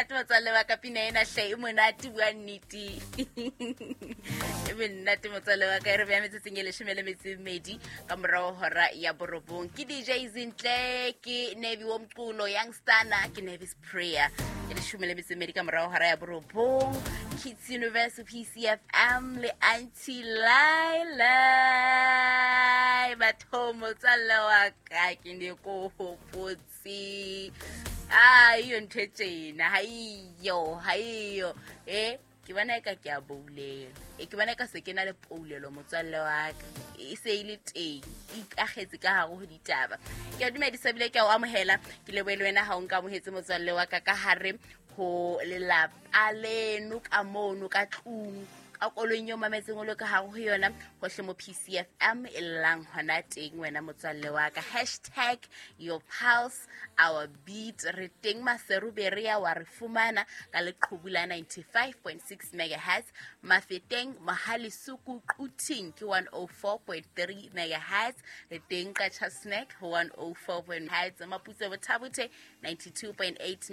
Monate motswalle wa ka, pina ena hle e monate, bua nnete, e monate motswalle wa ka. E re beya metsotsong e 12 ka morago hora ya 9. Ke DJ Zintle, ke Nevi wo mculo Youngstana, ke Nevis Prayer. E 12 ka morago hora ya 9, Kids Universe, PCFM le Auntie Laila. Batho, motswalle wa ka, ke ne ko hopotse a iyo ntho e tjena ha iyo, ha iyo. E ke bona eka ke a boulelo, e ke bona eka se ke na le poulelo, motswalle wa ka, e se e le teng, e ikagetse ka gare go ditaba. Ke a dumedisa bile ke a o amohela, ke leboe le wena ga o nka amogetse, motswalle wa ka, ka gare go lelapa leno, ka mono ka tlung, ka koloing eo mametseng o le ka gare go yona, gohle mo PCFM e llang hona teng. Wena motswalle wa ka, #YourPulseOurBeat. Re teng Maseru Berea, wa re fumana ka leqhubu la 95.6 megahertz, Mafeteng, Mohale's Hoek, Quthing ke 104.3 megahertz. Re teng Qacha Snack 104 hertz, Maputse, Bothabothe 92.8.